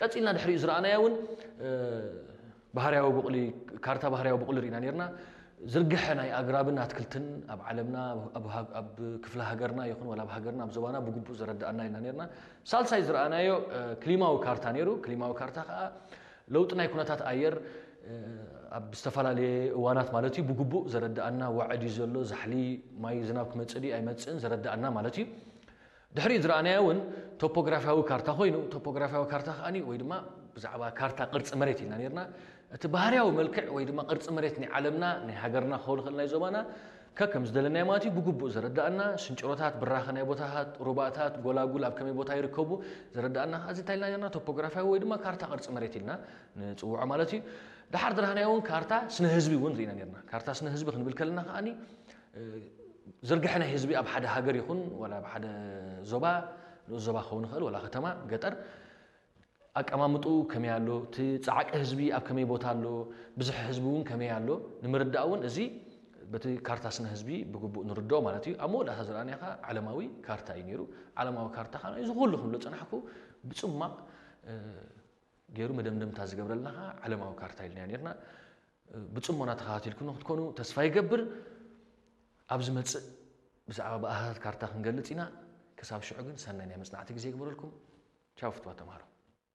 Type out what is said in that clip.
ቀፂልና ድሕሪኡ ዝረኣናዮ እውን ባህርያዊ ብቑሊ፣ ካርታ ባህርያዊ ብቑሊ ርኢና ነርና። ዝርግሐ ናይ ኣግራብን ኣትክልትን ኣብ ዓለምና፣ ኣብ ክፍለ ሃገርና ይኹን ወላ ኣብ ሃገርና ኣብ ዞባና ብግቡእ ዘረዳኣና ኢልና ነርና። ሳልሳይ ዝረኣናዮ ክሊማዊ ካርታ ነይሩ። ክሊማዊ ካርታ ከዓ ለውጢ ናይ ኩነታት ኣየር ኣብ ዝተፈላለየ እዋናት ማለት እዩ ብግቡእ ዘረዳኣና፣ ዋዕድ እዩ ዘሎ፣ ዛሕሊ ማይ ዝናብ ክመፅእ ድዩ ኣይመፅእን ዘረዳኣና ማለት እዩ። ድሕሪኡ ዝረኣናዮ እውን ቶፖግራፊያዊ ካርታ ኮይኑ፣ ቶፖግራፊያዊ ካርታ ከዓኒ ወይ ድማ ብዛዕባ ካርታ ቅርፂ መሬት ኢልና ነርና። እቲ ባህርያዊ መልክዕ ወይ ድማ ቅርፂ መሬት ናይ ዓለምና፣ ናይ ሃገርና ክኸውን ይኽእል ናይ ዞባና ከከም ዝደለናዮ ማለት እዩ ብግቡእ ዘረዳኣና፣ ስንጭሮታት፣ ብራኸ ናይ ቦታታት፣ ሩባታት፣ ጎላጉል ኣብ ከመይ ቦታ ይርከቡ ዘረዳኣና። እዚ እንታይ ኢልና ነርና? ቶፖግራፊያዊ ወይ ድማ ካርታ ቅርፂ መሬት ኢልና ንፅውዖ ማለት እዩ። ድሓር ዝረኣናዮ እውን ካርታ ስነ ህዝቢ እውን ርኢና ነርና። ካርታ ስነ ህዝቢ ክንብል ከለና ከዓኒ ዝርግሐ ናይ ህዝቢ ኣብ ሓደ ሃገር ይኹን ወላ ኣብ ሓደ ዞባ፣ ንኡስ ዞባ ክኸውን ይኽእል ወላ ከተማ፣ ገጠር፣ ኣቀማምጥኡ ከመይ ኣሎ፣ እቲ ፃዕቂ ህዝቢ ኣብ ከመይ ቦታ ኣሎ፣ ብዝሒ ህዝቢ እውን ከመይ ኣሎ ንምርዳእ እውን እዚ በቲ ካርታ ስነ ህዝቢ ብግቡእ ንርድኦ ማለት እዩ። ኣብ መወዳእታ ዝረኣናዮ ከዓ ዓለማዊ ካርታ እዩ ነይሩ። ዓለማዊ ካርታ ከዓ እዚ ኩሉ ክብሎ ፀናሕኩ ብፅማቕ ገይሩ መደምደምታ ዝገብረልና ከዓ ዓለማዊ ካርታ ኢልና ነርና። ብፅሞና ተኸታቲልኩም ክትኮኑ ተስፋ ይገብር። ኣብ ዝመፅእ ብዛዕባ ብኣሃታት ካርታ ክንገልፅ ኢና። ክሳብ ሽዑ ግን ሰናይ ናይ መፅናዕቲ ግዜ ይግበረልኩም። ቻው ፍትዋ ተምሃሮ።